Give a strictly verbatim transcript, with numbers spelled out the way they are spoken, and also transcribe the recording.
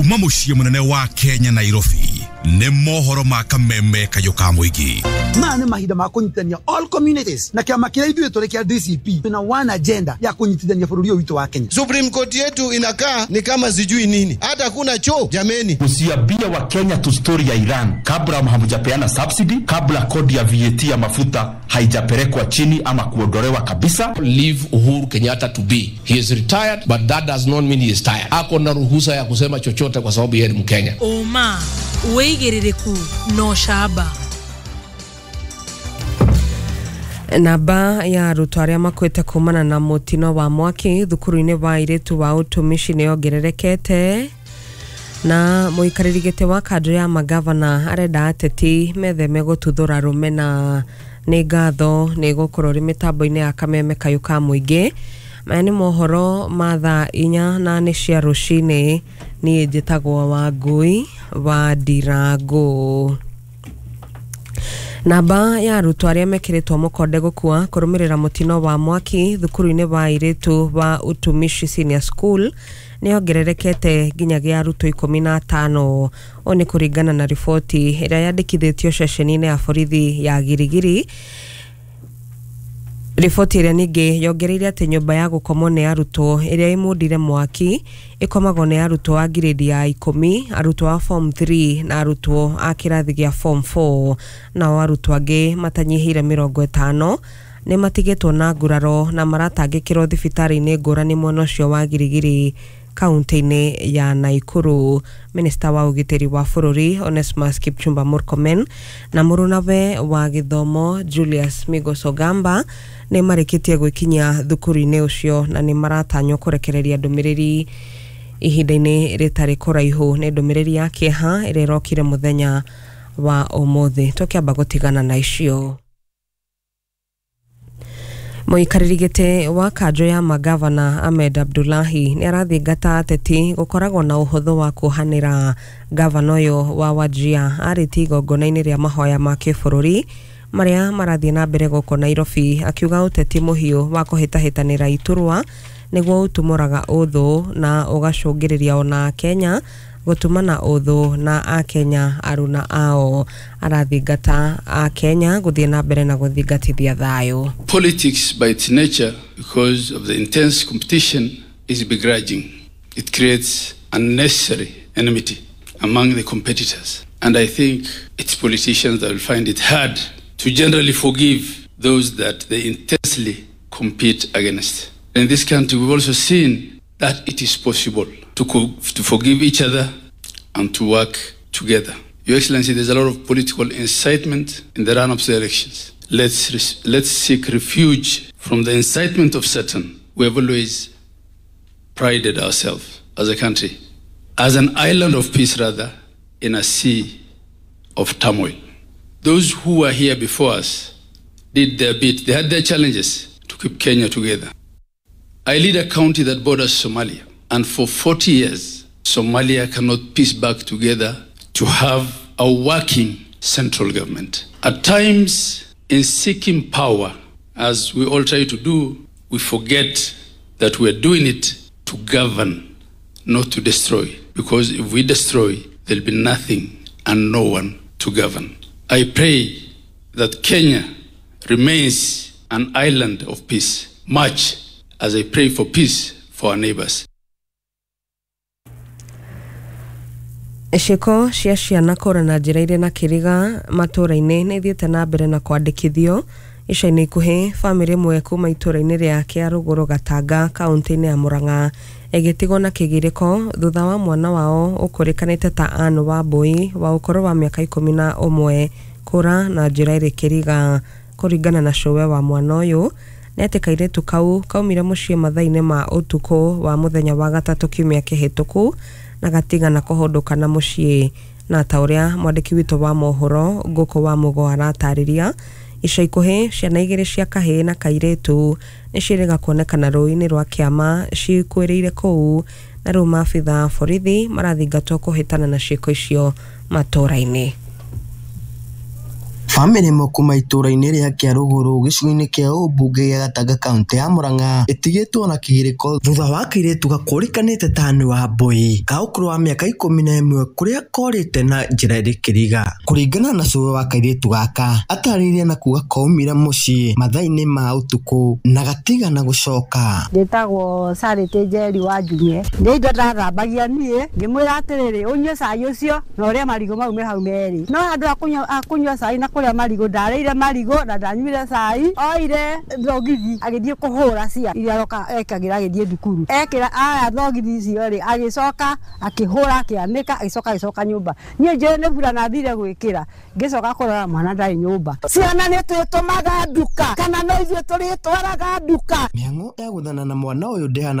Kuma muciĩ munene wa Kenya Nairobi nĩ mohoro ma kameme kayũ ka mũingĩ. Maya nĩ mahinda ma kũnyitithania all communities na kĩama kĩrĩa ithuĩ tũrĩ kĩa D C P na one agenda ya kũnyitithania bũrũri ũyũ witũ wa Kenya. Supreme Court yetu inakaa ni kama sijui nini, hata kuna choo jameni. Usiambie wa Kenya tu story ya Iran kabla hamjapeana subsidy, kabla kodi ya V A T ya mafuta haijapelekwa chini ama kuondolewa kabisa. Leave Uhuru Kenyatta to be. He is retired, but that does not mean he is tired. Ako na ruhusa ya kusema chochote kwa sababu yeye ni Mkenya. Oma wĩigĩrĩrĩku no shaba. Namba ya arutwo arĩa makuĩte kumana na mũtino wa mwaki thukuru-inĩ wa airĩtu wa ũtumishi nĩ yongererekete. Na mũikarĩri gĩtĩ wa kanjũ ya magavana arenda ateti metheme gũtuthũra rũmena. Nĩ ngatho nĩ gũkorwo rĩ mĩtambo-inĩ ya kameme kayũ ka mũingĩ. Maya nĩ mohoro ma thaa inya na nĩ cia rũcinĩ. Niĩ njĩtagwo Wangui wa Ndirango. Namba ya arutwo arĩa mekĩrĩtwo mũkonde gũkua kũrũmĩrĩra mũtino wa mwaki thukuru-inĩ wa airĩtu wa Utumishi Senior School nĩ yongererekete nginyagia arutwo ikũmi na atano. Ũũ nĩ kũringana na riboti ĩrĩa yandĩkithĩtio ceceni-inĩ ya borithi ya Girigiri. Riboti ĩrĩa ningĩ yongereire atĩ nyũmba ya gũkomwo nĩ arutwo ĩrĩa ĩmundire mwaki ĩkomagwo nĩ arutwo a grade ya ikũmi, arutwo a form three na arutwo a kĩrathi gĩa form four. Nao arutwo angĩ matanyihĩire mĩrongo ĩtano nĩ matigĩtwo na nguraro na maratangĩkĩrwo thibitarĩ-inĩ ngũrani mwena ũcio wa Girigiri kaunti-inĩ ya Nakuru. Minista wa ũgitĩri wa bũrũri Onesmus Kipchumba Murkomen na mũrũnawe wa gĩthomo Julius Migos Ogamba nĩ marĩkĩtie gwĩkinyia thukuru-inĩ ũcio na nĩ maratanywo kũrekereria ndũmĩrĩri ihinda-inĩ rĩtarĩ kũraihu. Nĩ ndũmĩrĩri ya kĩeha ĩrĩa ĩrokire mũthenya wa ũmũthĩ. Tũkĩamba gũtigana na icio. Mũikarĩri gĩtĩ wa kanjũ ya magavana Ahmed Abdullahi nĩ arathingata ateti gũkoragwo na ũhũthũ wa kuohanĩra. Gavana ũyũ wa Wajir arĩtie igongona-inĩ rĩa mahoya ma kĩbũrũri marĩa marathiĩ na mbere gũkũ Nairobi, akiuga ũteti mũhiũ wa kũhĩtahĩtanĩra iturwa nĩguo ũtumũraga ũthũ na ũgacũngĩrĩria ona Kenya gũtumana ũthũ na akenya aruna ao. Arathingata akenya gũthiĩ na mbere na gũthingatithia thayũ. Politics by its nature, because of the intense competition, is begrudging. It creates unnecessary enmity among the competitors. And I think it's politicians that will find it hard to generally forgive those that they intensely compete against. In this country, we've also seen that it is possible to, co- to forgive each other and to work together. Your Excellency, there's a lot of political incitement in the run-up to the elections. Let's, res- let's seek refuge from the incitement of Satan. We have always prided ourselves as a country, as an island of peace rather, in a sea of turmoil. Those who were here before us did their bit. They had their challenges to keep Kenya together. I lead a county that borders Somalia, and for forty years, Somalia cannot piece back together to have a working central government. At times, in seeking power, as we all try to do, we forget that we are doing it to govern, not to destroy. Because if we destroy, there'll be nothing and no one to govern. I pray that Kenya remains an island of peace, much as I pray for peace for our neighbors. Ciĩko cia ciana kũra na njĩra irĩ na kĩriga matũũra-inĩ nĩ ithiĩte na mbere na kwandĩkithio. Ica-inĩ ikuhĩ bamĩrĩ ĩmwe kuma itũũra-inĩ rĩa Kĩarũgũrũ Gatanga kaunti-inĩ ya Murang'a ĩgĩtigwo na kĩgirĩko thutha wa mwana wao ũkũrĩkanĩte ta Ann Wambui wa ũkũrũ wa mĩaka ikũmi na ũmwe kũra na njĩra ĩrĩ kĩriga. Kũringana na cũwe wa mwana ũyũ nĩ atĩ kairĩtu kau kaumire mũciĩ mathaa-inĩ ma ũtukũ wa mũthenya wa gatatũ kiumia kĩhĩtũku na gatigana kũhũndũka na mũciĩ. Na ta ũrĩa mwandĩki witũ wa mohoro Ngũkũ wa Mũgo aratarĩria, ica ikuhĩ ciana igĩrĩ cia kahĩĩ na kairĩtu nĩ ciĩrĩga kuonekana rũĩ-inĩ rwa Kĩama cikuĩrĩire kũu, na rĩu maabitha borithi marathingatwo kũhĩtana na ciĩko icio matũũra-inĩ. Bamĩrĩ ĩmwe kuma itũũra-inĩ rĩa Kĩarũgũrũ gĩcigo-inĩ kĩa ũmbunge gĩa Gatanga kaũntĩ ya Murang'a ĩtigĩtwo na kĩgirĩko thutha wa kairĩtu gakũrĩkanĩte ta nĩ wa Mbui ka ũkũrũ wa mĩaka ikũmi na ĩmwe kũrĩa korĩte na njĩra ĩrĩ kĩriga. Kũringana na cũwe wa kairĩtu gaka atarĩirie na kuga kaumire mũciĩ mathaa-inĩ ma ũtukũ na gatigana gũcoka. Ndĩtagwo Charity Njeri wa Njung'e. Nĩ indo ndathambagia niĩ ngĩmwĩra atĩrĩrĩ ũnyue cai ũcio na ũrĩe marigũ mau me hau merĩ. No handũ ha kũnyua cai na kũrĩa marigũ ndarĩire marigũ na ndanyuire cai. Oire thogithi agĩthiĩ kũhũra cia iria aroka ekagĩra agĩthiĩ thukuru. Ekĩra aya thogithi icio rĩ agĩcoka akĩhũra akĩanĩka agĩcoka agĩcoka nyũmba. Niĩ njũĩ nĩ burana thire gwĩkĩra ngĩcoka kũrora mwana ndarĩ nyũmba. Ciana nĩ twĩtũmaga nduka kana no ithuĩ tũrĩtwaraga nduka. Mĩhang'o ya gũthana na mwana ũyũ ndĩhana.